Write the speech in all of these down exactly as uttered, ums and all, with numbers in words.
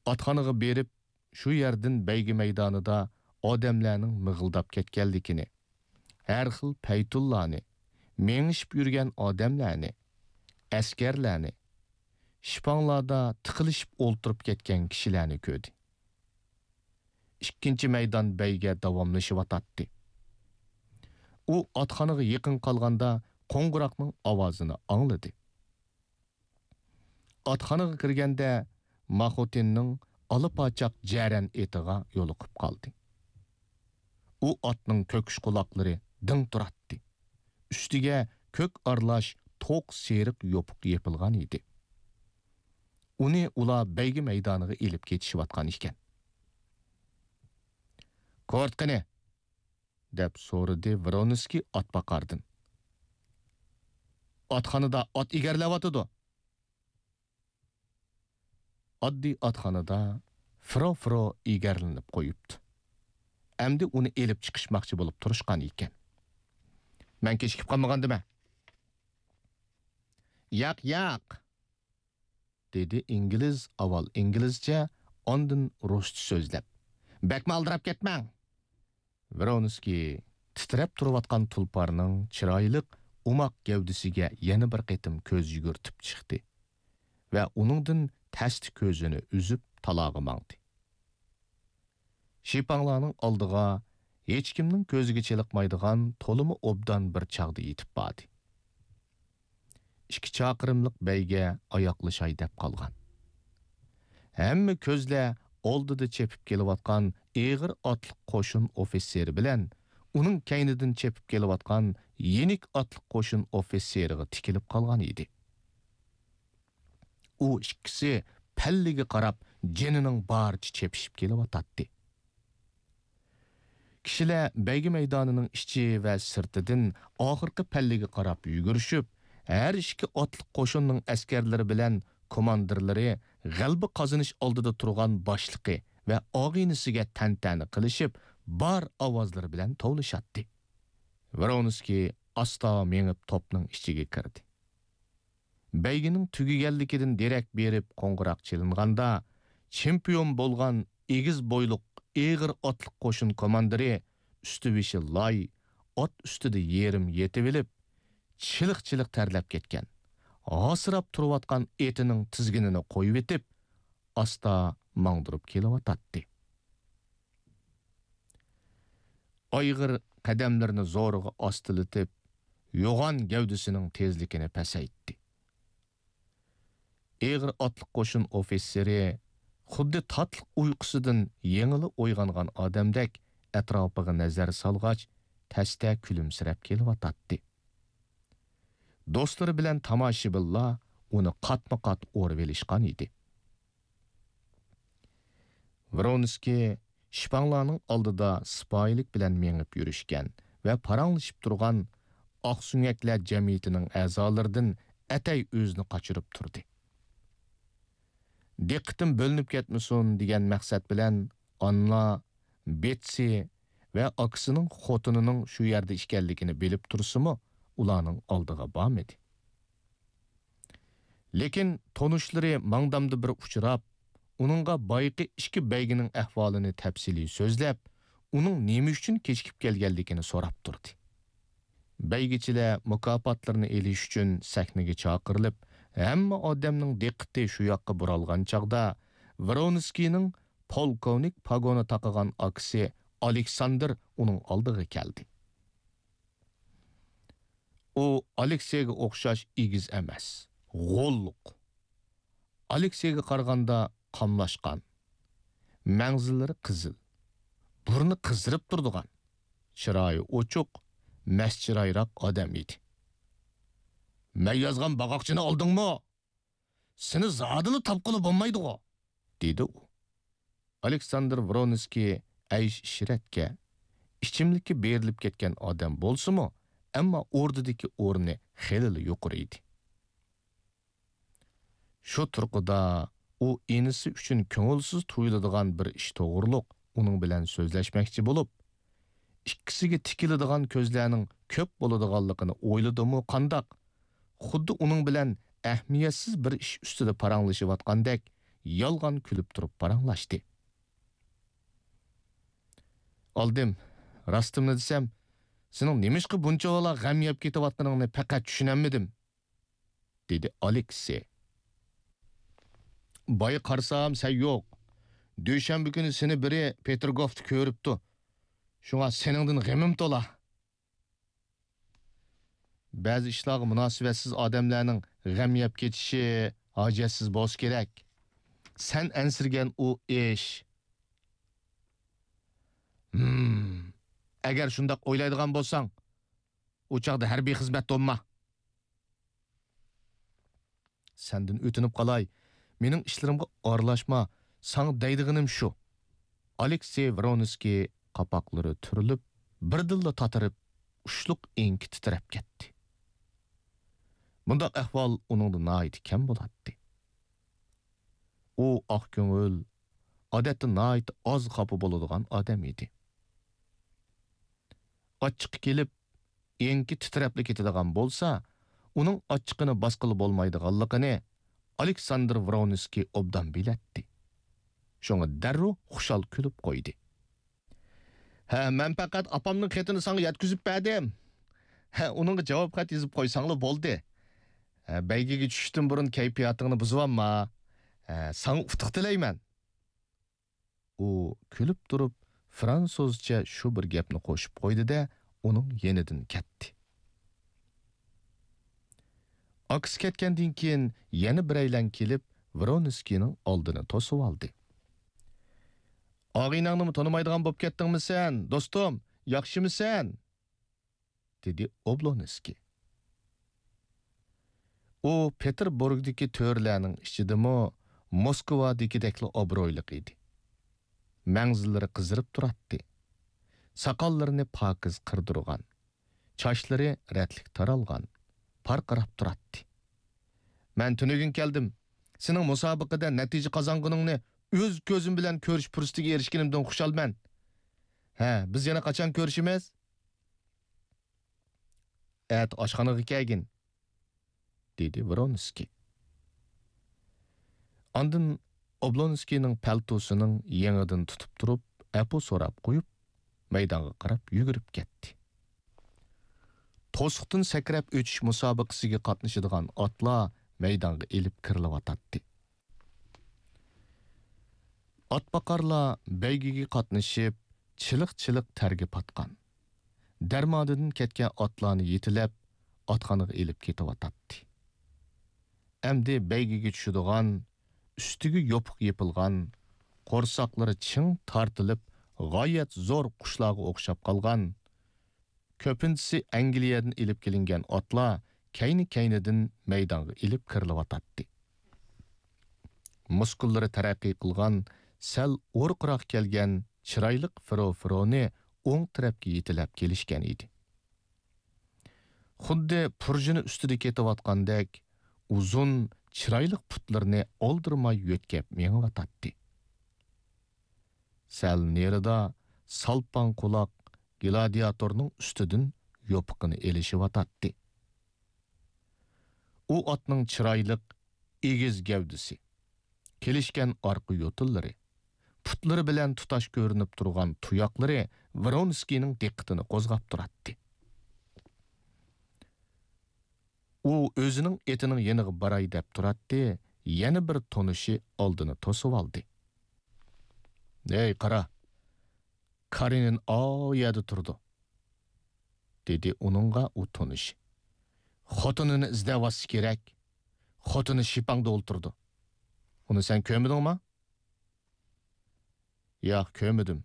ئاتخانىغا بېرىپ، شۇ يەردىن بەيگە مەيدانىدا ئادەملەرنىڭ مىغىلداپ كەتكەنلىكىنى، ھەر خىل پەيتۇنلارنى، مېڭىشىپ يۈرگەن ئادەملەرنى، ئەسكەرلەرنى، شىپاڭلاردا تىقىلىشىپ ئولتۇرۇپ كەتكەن كىشىلەرنى كۆردى. ئىككىنچى مەيدان بەيگە داۋاملىشىۋاتاتتى. ئۇ ئاتخانىغا يېقىن قالغاندا قوڭغۇراقنىڭ ئاۋازىنى ئاڭلىدى. ئاتخانىغا كىرگەندە ماخوتىننىڭ ئالا پاچاق جەرەن ئېتىغا يولۇقۇپ قالدى. ئۇ ئاتنىڭ كۆكۈش قۇلاقلىرى دىڭ تۇراتتى. ئۈستىگە كۆك ئارىلاش توق سېرىق يوپۇق يېپىلغان ئىدى. ئۇنى ئۇلار بەيگە مەيدانىغا ئېلىپ كېتىشىۋاتقان ئىكەن. «كورت قېنى؟» دەپ سورىدى ۋرونسكىي ئاتباقاردىن. «ئاتخانىدا ئات ئېگەرلەۋاتىدۇ.» ئاددىي ئاتخانىدا فرو-فرو ئېگەرلىنىپ قويۇپتۇ. ئەمدى ئۇنى ئېلىپ چىقىشماقچى بولۇپ تۇرۇشقان ئىكەن. «مەن كېچىكىپ قالمىغاندىمەن.» «ياق، ياق!» دېدى ئىنگلىز ئاۋۋال ئىنگلىزچە، ئاندىن رۇسچە سۆزلەپ. «بەكمۇ ئالدىراپ كەتمەڭ!» ۋرونسكىي تىترەپ تۇرۇۋاتقان تۇلپارنىڭ چىرايلىق، ئوماق گەۋدىسىگە يەنە بىر قېتىم كۆز يۈگۈرتۈپ چىقتى ۋە ئۇنىڭدىن تەستە كۆزىنى ئۈزۈپ، تالاغا ماڭدى. شىپاڭلارنىڭ ئالدىغا ھېچكىمنىڭ كۆزىگە چېلىقمايدىغان تولىمۇ ئوبدان بىر چاغدا يېتىپ باردى. ئىككى چاقىرىملىق بەيگە ئاياغلىشاي دەپ قالغان. ھەممە كۆزلەر ئالدىدا چېپىپ كېلىۋاتقان ئېغىر ئاتلىق قوشۇن ئوفىتسېرى بىلەن ئۇنىڭ كەينىدىن چېپىپ كېلىۋاتقان يېنىك ئاتلىق قوشۇن ئوفىتسېرىغا تىكىلىپ قالغان ئىدى. ئۇ ئىككىسى پەللىگە قاراپ جېنىنىڭ بارىچە چېپىشىپ كېلىۋاتاتتى. كىشىلەر بەيگە مەيدانىنىڭ ئىچى ۋە سىرتىدىن ئاخىرقى پەللىگە قاراپ يۈگۈرۈشۈپ، ھەر ئىككى ئاتلىق قوشۇننىڭ ئەسكەرلىرى بىلەن كوماندىرلىرى غەلىبە قازىنىش ئالدىدا تۇرغان باشلىقى ۋە ئاغىنىسىگە تەنتەنە قىلىشىپ، بار ئاۋازلىرى بىلەن توۋلىشاتتى. ۋرونسكىي ئاستا مېڭىپ توپنىڭ ئىچىگە كىردى. بەيگىنىڭ تۈگىگەنلىكىدىن دېرەك بېرىپ قوڭغۇراق چېلىنغاندا، چېمپىيون بولغان ئېگىز بويلۇق، ئېغىر ئاتلىق قوشۇن كوماندىرى، ئۈستى-بېشى لاي، ئات ئۈستىدە يېرىم يېتىۋېلىپ، چىلىق-چىلىق تەرلەپ كەتكەن، ھاسىراپ تۇرۇۋاتقان ئېتىنىڭ تىزگىنىنى قويۇۋېتىپ، ئاستا ماڭدۇرۇپ كېلىۋاتاتتى. ئايغىر قەدەملىرىنى زورىغا ئاستىلىتىپ، يوغان گەۋدىسىنىڭ تېزلىكىنى پەسەيتتى. ئېغىر ئاتلىق قوشۇن ئوفىتسېرى خۇددى تاتلىق ئۇيقۇسىدىن يېڭىلا ئويغانغان ئادەمدەك ئەتراپىغا نەزەر سالغاچ، تەستە كۈلۈمسىرەپ كېلىۋاتاتتى. دوستلىرى بىلەن تاماشىبىنلار ئۇنى قاتمۇ قات ئورىۋېلىشقان ئىدى. ۋرونسكىي شىپاڭلارنىڭ ئالدىدا سىپايىلىك بىلەن مېڭىپ يۈرۈشكەن ۋە پاراڭلىشىپ تۇرغان ئاقسۆڭەكلەر جەمئىيىتىنىڭ ئەزالىرىدىن ئەتەي ئۆزىنى قاچۇرۇپ تۇردى. دىققىتىم بۆلۈنۈپ كەتمىسۇن دېگەن مەقسەت بىلەن ئاننا، بېتسى ۋە ئاكىسىنىڭ خوتۇنىنىڭ شۇ يەردە ئىكەنلىكىنى بىلىپ تۇرسىمۇ، ئۇلارنىڭ ئالدىغا بارمىدى. لېكىن تونۇشلىرى ماڭدامدا بىر ئۇچراپ، ئۇنىڭغا بايىقى ئىككى بەيگىنىڭ ئەھۋالىنى تەپسىلىي سۆزلەپ، ئۇنىڭ نېمە ئۈچۈن كېچىكىپ كەلگەنلىكىنى سوراپ تۇردى. بەيگىچىلەر مۇكاپاتلىرىنى ئېلىش ئۈچۈن سەھنىگە چاقىرىلىپ، ھەممە ئادەمنىڭ دىققىتى شۇ ياققا بۇرالغان چاغدا، ۋرونسكىينىڭ پولكوۋنىك پاگونى تاقىغان ئاكىسى ئالېكساندىر ئۇنىڭ ئالدىغا كەلدى. ئۇ ئالېكسېيگە ئوخشاش ئېگىز ئەمەس، غوللۇق. ئالېكسېيگە قارىغاندا قاملاشقان، مەڭزىلىرى قىزىل، بۇرنى قىزىرىپ تۇرىدىغان، چىرايى ئوچۇق، مەست چىرايراق ئادەم ئىدى. «مەن يازغان باغاقچىنى ئالدىڭمۇ؟ سېنى زادىلا تاپقىلى بولمايدىغۇ!» دېدى ئۇ. ئالېكساندىر ۋرونسكىي ئەيش-ئىشرەتكە، ئىچىملىككە بېرىلىپ كەتكەن ئادەم بولسىمۇ، ئەمما ئوردىدىكى ئورنى خېلىلا يۇقىرى ئىدى. شۇ تۇرقىدا ئۇ ئىنىسى ئۈچۈن كۆڭۈلسىز تۇيۇلىدىغان بىر ئىش توغرۇلۇق ئۇنىڭ بىلەن سۆزلەشمەكچى بولۇپ، ئىككىسىگە تىكىلىدىغان كۆزلەرنىڭ كۆپ بولىدىغانلىقىنى ئويلىدىمۇ قانداق، خۇددى ئۇنىڭ بىلەن ئەھمىيەتسىز بىر ئىش ئۈستىدە پاراڭلىشىۋاتقاندەك يالغان كۈلۈپ تۇرۇپ پاراڭلاشتى. ئالدىم، راستىمنى دېسەم، سېنىڭ نېمىشقا بۇنچىۋالا غەم يەپ كېتىۋاتقىنىڭنى پەقەت چۈشىنەلمىدىم، دېدى ئالېكسېي. بايا قارىسام، سەن يوق. دۈشەنبە كۈنى سېنى بىرى پېتىرگوفتا كۆرۈپتۇ. شۇڭا سېنىڭدىن غېمىم تولا. بەزى ئىشلارغا مۇناسىۋەتسىز ئادەملەرنىڭ غەم يەپ كېتىشى ھاجەتسىز بولسا كېرەك. سەن ئەنسىرىگەن ئۇ ئىش. ھىم، ئەگەر شۇنداق ئويلايدىغان بولساڭ، ئۇ چاغدا ھەربىي خىزمەتتە بولما. سەندىن ئۆتۈنۈپ قالاي، مېنىڭ ئىشلىرىمغا ئارىلاشما، ساڭا دەيدىغىنىم شۇ. ئالېكسېي ۋرونسكىي قاپاقلىرى تۈرۈلۈپ، بىردىنلا تاتىرىپ، ئۇچلۇق ئېڭىكى تىترەپ كەتتى. بۇنداق ئەھۋال ئۇنىڭدا ناھايىتى كەم بولاتتى. ئۇ ئاق كۆڭۈل، ئادەتتە ناھايىتى ئاز خاپا بولىدىغان ئادەم ئىدى. ئاچچىقى كېلىپ، ئېڭىكى تىترەپلا كېتىدىغان بولسا، ئۇنىڭ ئاچچىقىنى باسقىلى بولمايدىغانلىقىنى ئالېكساندىر ۋرونسكىي ئوبدان بىلەتتى. شۇڭا دەررۇ خۇشال كۈلۈپ قويدى. ھە، مەن پەقەت ئاپامنىڭ خېتىنى ساڭا يەتكۈزۈپ بەردىم. ھە، ئۇنىڭغا جاۋاب خەت يېزىپ قويساڭلا بولدى. ھە، بەيگىگە چۈشۈشتىن بۇرۇن كەيپىياتىڭنى بۇزۇۋالما. ھە، ساڭا ئۇتۇق تىلەيمەن. ئۇ كۈلۈپ تۇرۇپ، فرانسۇزچە شۇ بىر گەپنى قوشۇپ قويدى-دە، ئۇنىڭ يېنىدىن كەتتى. ئاكىسى كەتكەندىن كېيىن يەنە بىرەيلەن كېلىپ، ۋرونسكىينىڭ ئالدىنى توسۇۋالدى. «ئاغىنەڭنىمۇ تونۇمايدىغان بولۇپ كەتتىڭمۇ سەن، دوستۇم؟ ياخشىمۇسەن؟» دېدى ئوبلونسكىي. ئۇ پېتېربۇرگدىكى تۆرىلەرنىڭ ئىچىدىمۇ موسكۋادىكىدەكلا ئابرۇيلۇق ئىدى. مەڭزىلىرى قىزىرىپ تۇراتتى. ساقاللىرىنى پاكىز قىردۇرغان. چاچلىرى رەتلىك تارالغان. پارقىراپ تۇراتتى. «مەن تۈنۈگۈن كەلدىم. سېنىڭ مۇسابىقىدە نەتىجە قازانغىنىڭنى ئۆز كۆزۈم بىلەن كۆرۈش پۇرسىتىگە ئېرىشكىنىمدىن خۇشالمەن. ھە، بىز يەنە قاچان كۆرۈشىمىز؟» «ئەتە ئاشخانىغا كەلگىن.» دېدى ۋرونسكىي. ئاندىن ئوبلونسكىينىڭ پەلتوسىنىڭ يېڭىدىن تۇتۇپ تۇرۇپ، ئەپۇ سوراپ قويۇپ، مەيدانغا قاراپ يۈگۈرۈپ كەتتى. توسۇقتىن سەكرەپ ئۆتۈش مۇسابىقىسىگە قاتنىشىدىغان ئاتلار مەيدانغا ئېلىپ كىرىلىۋاتاتتى. ئاتباقارلار بەيگىگە قاتنىشىپ، چىلىق-چىلىق تەرگە پاتقان، دەرمانىدىن كەتكەن ئاتلارنى يېتىلەپ، ئاتخانىغا ئېلىپ كېتىۋاتاتتى. ئەمدى بەيگىگە چۈشىدىغان، ئۈستىگە يوپۇق يېپىلغان، قورساقلىرى چىڭ تارتىلىپ، غايەت زور قۇشلارغا ئوخشاپ قالغان، كۆپىنچىسى ئەنگلىيەدىن ئېلىپ كېلىنگەن ئاتلار كەينى-كەينىدىن مەيدانغا ئېلىپ كىرىلىۋاتاتتى. مۇسكۇللىرى تەرەققىي قىلغان، سەل ئورۇقراق كەلگەن چىرايلىق فىرو-فىرونى ئوڭ تەرەپكە يېتىلەپ كېلىشكەن ئىدى. خۇددى پۇرژىنى ئۈستىدە كېتىۋاتقاندەك ئۇزۇن، چىرايلىق پۇتلىرىنى ئالدىرىماي يۆتكەپ مېڭىۋاتاتتى. سەل نېرىدا سالپاڭ قۇلاق گلادىياتورنىڭ ئۈستىدىن يوپۇقىنى ئېلىشىۋاتاتتى. ئۇ ئاتنىڭ چىرايلىق ئېگىز گەۋدىسى، كېلىشكەن ئارقا يوتۇنلىرى، پۇتلىرى بىلەن تۇتاش كۆرۈنۈپ تۇرغان تۇياقلىرى ۋرونسكىينىڭ دىققىتىنى قوزغاپ تۇراتتى. ئۇ ئۆزىنىڭ ئېتىنىڭ يېنىغا باراي دەپ تۇراتتى، يەنە بىر تونۇشى ئالدىنى توسۇۋالدى. «ھەي، قارا! كارېنىن ئاۋۇ يەردە تۇرىدۇ»، دېدى ئۇنىڭغا ئۇ تونۇشى. «خوتۇنىنى ئىزدەۋاتسا كېرەك. خوتۇنى شىپاڭدا ئولتۇرىدۇ. ئۇنى سەن كۆرمىدىڭما؟» «ياق، كۆرمىدىم»،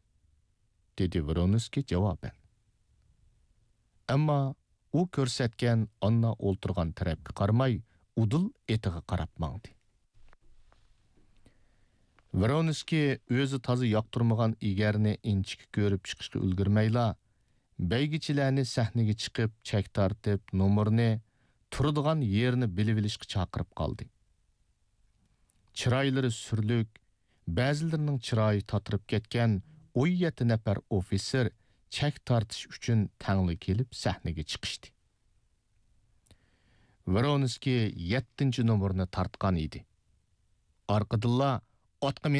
دېدى ۋرونسكىي جاۋابەن. ئەمما ئۇ كۆرسەتكەن ئاننا ئولتۇرغان تەرەپكە قارىماي، ئۇدۇل ئېتىغا قاراپ ماڭدى. ۋرونسكىي ئۆزى تازا ياقتۇرمىغان ئېگەرنى ئىنچىكە كۆرۈپ چىقىشقا ئۈلگۈرمەيلا، بەيگىچىلەرنى سەھنىگە چىقىپ چەك تارتىپ نومۇرنى تۇرىدىغان يېرىنى بىلىۋېلىشقا چاقىرىپ قالدى. چىرايلىرى سۈرلۈك، بەزىلىرىنىڭ چىرايى تاتىرىپ كەتكەن ئون يەتتە نەپەر ئوفىتسېر چەك تارتىش ئۈچۈن تەڭلا كېلىپ سەھنىگە چىقىشتى. ۋرونسكىي يەتتىنچى نومۇرنى تارتقان ئىدى. ئارقىدىنلا ئاتقا مېنىڭ